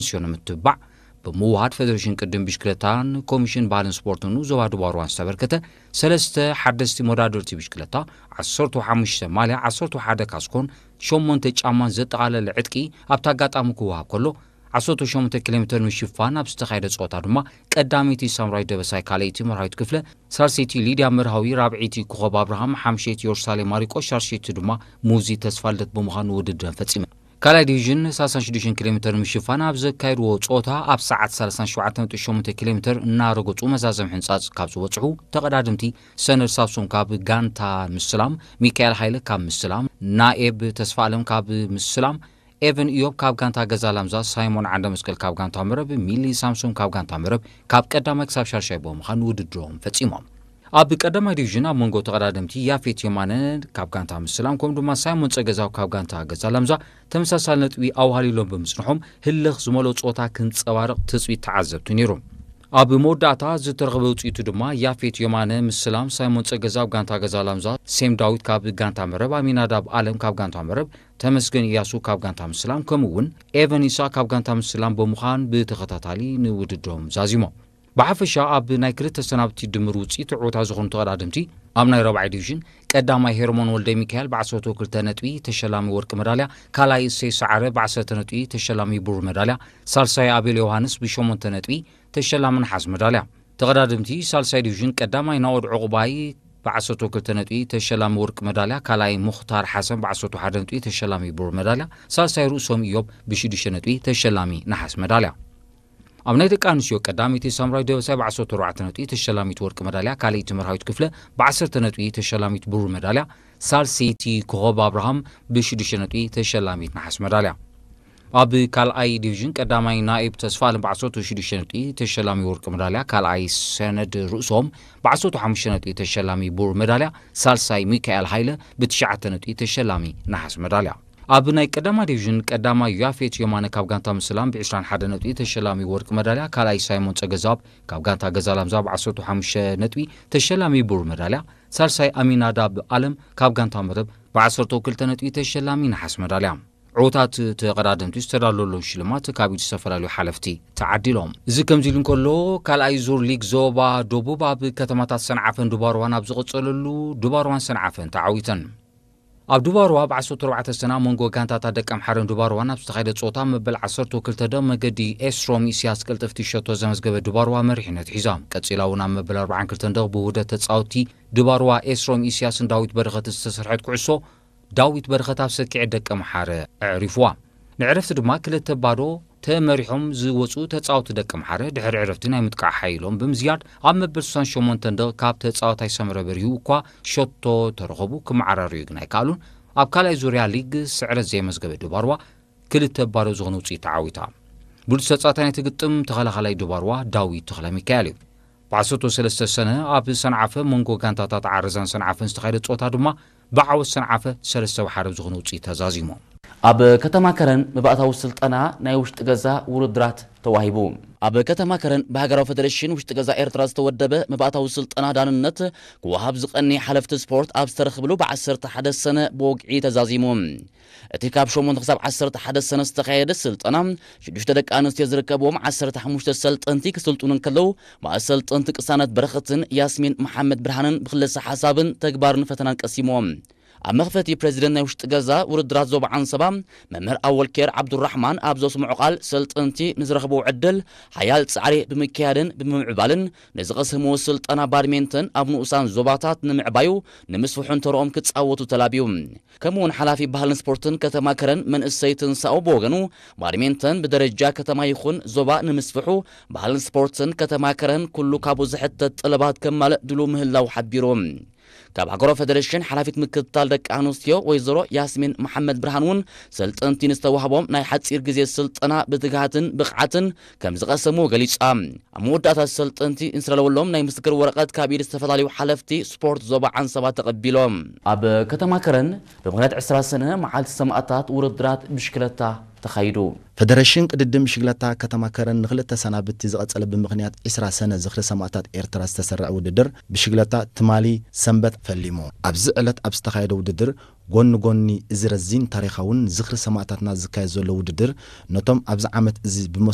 ኣንስዮ ንምትብባዕ ብምውሃድ ፌደሬሽን ቅድም ብሽክለታን ኮሚሽን ባህልን ስፖርትን ዞባ ድባርዋን ዝተበርከተ ሰለስተ ሓደስቲ መወዳደርቲ ብሽክለታ፣ ዓሰርተ ሓሙሽተ ማልያ፣ ዓሰርተ ሓደ ካስኮን ሸሞንተ ጫማን ዘጠቓለለ ዕጥቂ ኣብቲ ኣጋጣሚ ክወሃብ ከሎ፣ ዓሰርተ ሸሞንተ ኪሎ ሜትር ንምሽፋን ኣብ ዝተኻየደ ጸወታ ድማ ቀዳመይቲ ሳምራዊት ደበሳይ፣ ካልኣይቲ መርሃዊት ክፍለ፣ ሳልሰይቲ ሊድያ መርሃዊ፣ ራብዐይቲ ኮኸብ ኣብርሃም፣ ሓምሸይቲ የሩሳሌም ማሪቆስ፣ ሻድሸይቲ ድማ ሙዚ ተስፋልደት ብምዃን ውድድረን ፈጺመን። ካልኣይ ዲቪዥን ሰላሳ ሽዱሽተ ኪሎ ሜትር ንምሽፋን ኣብ ዘካየድዎ ጸወታ ኣብ ሰዓት ሰላሳ ሸውዓተ ነጥቢ ሸሞንተ ኪሎ ሜትር እናረገጹ መዛዘም ሕንጻጽ ካብ ዝበጽሑ ተቐዳድምቲ ሰነድ ሳምሶም ካብ ጋንታ ምስላም፣ ሚካኤል ሃይለ ካብ ምስላም፣ ናኤብ ተስፋ ኣለም ካብ ምስላም፣ ኤቨን ኢዮብ ካብ ጋንታ ገዛ ላምዛ፣ ሳይሞን ዓንደ መስቀል ካብ ጋንታ መረብ፣ ሚሊ ሳምሶም ካብ ጋንታ መረብ ካብ ቀዳማይ ክሳብ ሻድሻይ ብምዃን ውድድሮም ፈጺሞም። ኣብ ቀዳማይ ዲቪዥን ኣብ መንጎ ተቐዳደምቲ ያፌት የማነ ካብ ጋንታ ምስላም ከምኡ ድማ ሳይሞን ጸገዛው ካብ ጋንታ ገዛ ላምዛ ተመሳሳሊ ነጥቢ ኣውሃሊሎም ብምጽንሖም ህልኽ ዝመልኦ ጸወታ ክንጸባርቕ ትጽቢት ተዓዘብቲ ነይሩ። ኣብ መወዳእታ ዝተረኽበ ውጽኢቱ ድማ ያፌት የማነ ምስላም፣ ሳይሞን ጸገዛው ጋንታ ገዛ ላምዛ፣ ሴም ዳዊት ካብ ጋንታ መረብ፣ ኣሚናዳብ ኣለም ካብ ጋንታ መረብ፣ ተመስገን እያሱ ካብ ጋንታ ምስላም ከምኡ እውን ኤቨን ኢሳ ካብ ጋንታ ምስላም ብምዃን ብተኸታታሊ ንውድድሮም ዛዚሞም። ብሓፈሻ ኣብ ናይ ክልተ ሰናብቲ ድምር ውፅኢት ዕወታ ዝኾኑ ተቐዳደምቲ ኣብ ናይ ረብዓይ ዲቪዥን ቀዳማይ ሄርሞን ወልደ ሚካኤል ብ ዓሰርተ ክልተ ነጥቢ ተሸላሚ ወርቂ መዳልያ፣ ካልኣይ እሰይ ሰዓረ ብ ዓሰርተ ነጥቢ ተሸላሚ ብሩር መዳልያ፣ ሳልሳይ ኣቤል ዮሃንስ ብ ሸሞንተ ነጥቢ ተሸላሚ ነሓስ መዳልያ። ተቐዳደምቲ ሳልሳይ ዲቪዥን ቀዳማይ ናኦድ ዕቑባይ ብ ዓሰርተ ክልተ ነጥቢ ተሸላሚ ወርቂ መዳልያ፣ ካልኣይ ሙኽታር ሓሰን ብ ዓሰርተ ሓደ ነጥቢ ተሸላሚ ብሩር መዳልያ፣ ሳልሳይ ርእሶም ኢዮብ ብ ሽዱሽተ ነጥቢ ተሸላሚ ነሓስ መዳልያ። ኣብ ናይ ደቂ ኣንስትዮ ቀዳመይቲ ሳምራዊት ደበሳይ ብ ዓሰርተ ኣርባዕተ ነጥቢ ተሸላሚት ወርቂ መዳልያ፣ ካልኣይቲ መርሃዊት ክፍለ ብ ዓሰርተ ነጥቢ ተሸላሚት ብሩር መዳልያ፣ ሳልሰይቲ ኮኸብ ኣብርሃም ብ ሽዱሽተ ነጥቢ ተሸላሚት ነሓስ መዳልያ። ኣብ ካልኣይ ዲቪዥን ቀዳማይ ናኢብ ተስፋ ኣለም ብ ዓሰርተ ሽዱሽተ ነጥቢ ተሸላሚ ወርቂ መዳልያ፣ ካልኣይ ሰነድ ርእሶም ብ ዓሰርተ ሓሙሽተ ነጥቢ ተሸላሚ ብሩር መዳልያ፣ ሳልሳይ ሚካኤል ሃይለ ብ ትሽዓተ ነጥቢ ተሸላሚ ነሓስ መዳልያ። ኣብ ናይ ቀዳማይ ዲቪዥን ቀዳማይ ያፌት የማነ ካብ ጋንታ ምስላም ብ ዕስራን ሓደን ነጥቢ ተሸላሚ ወርቂ መዳልያ፣ ካልኣይ ሳይሞን ጸገዛብ ካብ ጋንታ ገዛ ላምዛ ብ ዓሰርተ ሓሙሽተ ነጥቢ ተሸላሚ ብሩር መዳልያ፣ ሳልሳይ ኣሚናዳብ ኣለም ካብ ጋንታ መረብ ብ ዓሰርተ ክልተ ነጥቢ ተሸላሚ ነሓስ መዳልያ። ዕዉታት ተቐዳደምቲ ዝተዳለወሎም ሽልማት ካብ ኢድ ዝተፈላለዩ ሓለፍቲ ተዓዲሎም። እዚ ከምዚ ኢሉ እንከሎ፣ ካልኣይ ዙር ሊግ ዞባ ደቡብ ኣብ ከተማታት ሰንዓፈን ድባርዋን ኣብ ዝቐጸለሉ፣ ድባርዋን ሰንዓፈን ተዓዊተን። ኣብ ድባርዋ ብ ዓሰርተ ኣርባዕተ ሰነ ኣብ መንጎ ጋንታታት ደቀምሓረን ድባርዋን ኣብ ዝተኻየደ ጸወታ መበል ዓሰርተ ክልተ ደ መገዲ ኤስሮም ኢስያስ ቅልጥፍቲ ሸቶ ዘመዝገበ ድባርዋ መሪሕነት ሒዛ። ቀጺላ እውን ኣብ መበል ኣርባዓን ክልተን ደ ብውህደት ተጻወትቲ ድባርዋ ኤስሮም ኢስያስን ዳዊት በረኸትን ዝተሰርሐት ኩዕሶ ዳዊት በረኸት ኣብ ሰኪዐ ደቀምሓረ ኣዕሪፍዋ። ንዕረፍቲ ድማ ክልተ ባዶ ተመሪሖም ዝወጹ ተጻወቲ ደቀምሓረ ድሕሪ ዕረፍቲ ናይ ምጥቃዕ ሓይሎም ብምዝያድ ኣብ መበል ስሳን ሸሞንተን ደቕ ካብ ተጻዋታይ ሰመረ በሪሁ እኳ ሸቶ ተረኸቡ ክመዓራርዩ ግን ኣይከኣሉን። ኣብ ካልኣይ ዙርያ ሊግ ስዕረት ዘየመዝገበ ድባርዋ ክልተ ባዶ ዝኾነ ውጽኢት ተዓዊታ። ብሉጽ ተጻዋታይ ናይቲ ግጥም ተኸላኻላይ ድባርዋ ዳዊት ተኽለሚካኤል እዩ። ብ ዓሰርተ ሰለስተ ሰነ ኣብ ሰንዓፈ መንጎ ጋንታታት ዓረዛን ሰንዓፈን ዝተኻየደ ጸወታ ድማ ብዓወት ሰንዓፈ ሰለስተ ብ ሓደ ዝኾነ ውጽኢት ተዛዚሙ። ኣብ ከተማ ከረን መባእታዊ ስልጠና ናይ ውሽጢ ገዛ ውድድራት ተዋሂቡ። ኣብ ከተማ ከረን ብሃገራዊ ፌደሬሽን ውሽጢ ገዛ ኤርትራ ዝተወደበ መባእታዊ ስልጠና ዳንነት ክወሃብ ዝቐኒ ሓለፍቲ ስፖርት ኣብ ዝተረኽብሉ ብ ዓሰርተ ሓደ ሰነ ብወግዒ ተዛዚሙ። እቲ ካብ ሸሞንተ ክሳብ ዓሰርተ ሓደ ሰነ ዝተኻየደ ስልጠና ሽዱሽተ ደቂ ኣንስትዮ ዝርከብዎም ዓሰርተ ሓሙሽተ ሰልጠንቲ ክስልጥኑ እንከለዉ፣ ብኣሰልጠንቲ ቅሳነት በረኸትን ያስሚን መሓመድ ብርሃንን ብክልሰ ሓሳብን ተግባርን ፈተናን ቀሲሞም። ኣብ መኽፈቲ ፕሬዚደንት ናይ ውሽጢ ገዛ ውድድራት ዞባ ዓንሰባ መምህር ኣወልኬር ዓብዱራሕማን ኣብ ዘስምዖ ቃል፣ ሰልጠንቲ ንዝረኽብዎ ዕድል ሓያል ጻዕሪ ብምክያድን ብምምዕባልን ንዝቐሰምዎ ስልጠና ባድሜንተን ኣብ ንኡሳን ዞባታት ንምዕባዩ ንምስፍሑን ተረኦም ክጻወቱ ተላብዩ። ከምኡውን ሓላፊ ባህልን ስፖርትን ከተማ ከረን መንእሰይ ትንሳኦ ብወገኑ፣ ባድሜንተን ብደረጃ ከተማ ይኹን ዞባ ንምስፍሑ ባህልን ስፖርትን ከተማ ከረን ኩሉ ካብኡ ዝሕተት ጠለባት ከማልእ ድሉ ምህላው ሓቢሩ። ካብ ሃገራዊ ፌደሬሽን ሓላፊት ምክትታል ደቂ ኣንስትዮ ወይዘሮ ያስሚን መሓመድ ብርሃን እውን ሰልጠንቲ ንዝተዋህቦም ናይ ሓፂር ግዜ ስልጠና ብትግሃትን ብቕዓትን ከም ዝቐሰምዎ ገሊጻ። ኣብ መወዳእታ ሰልጠንቲ ንዝረለወሎም ናይ ምስክር ወረቐት ካብ ኢድ ዝተፈላለዩ ሓለፍቲ ስፖርት ዞባ ዓንሰባ ተቐቢሎም። ኣብ ከተማ ከረን ብምኽንያት ዕስራ ሰነ መዓልቲ ሰማእታት ውድድራት ብሽክለታ ተኻይዱ። ፈደረሽን ቅድድም ብሽግለታ ከተማ ከረን ንክልተ ሰናብቲ ዝቐጸለ ብምኽንያት ዕስራ ሰነ ዝኽሪ ሰማእታት ኤርትራ ዝተሰርዐ ውድድር ብሽግለታ ትማሊ ሰንበት ፈሊሙ። ኣብዚ ዕለት ኣብ ዝተኻየደ ውድድር ጎኒ ጎኒ እዚ ረዚን ታሪኻውን ዝኽሪ ሰማእታትና ዝካየድ ዘሎ ውድድር ነቶም ኣብዚ ዓመት እዚ ብመስ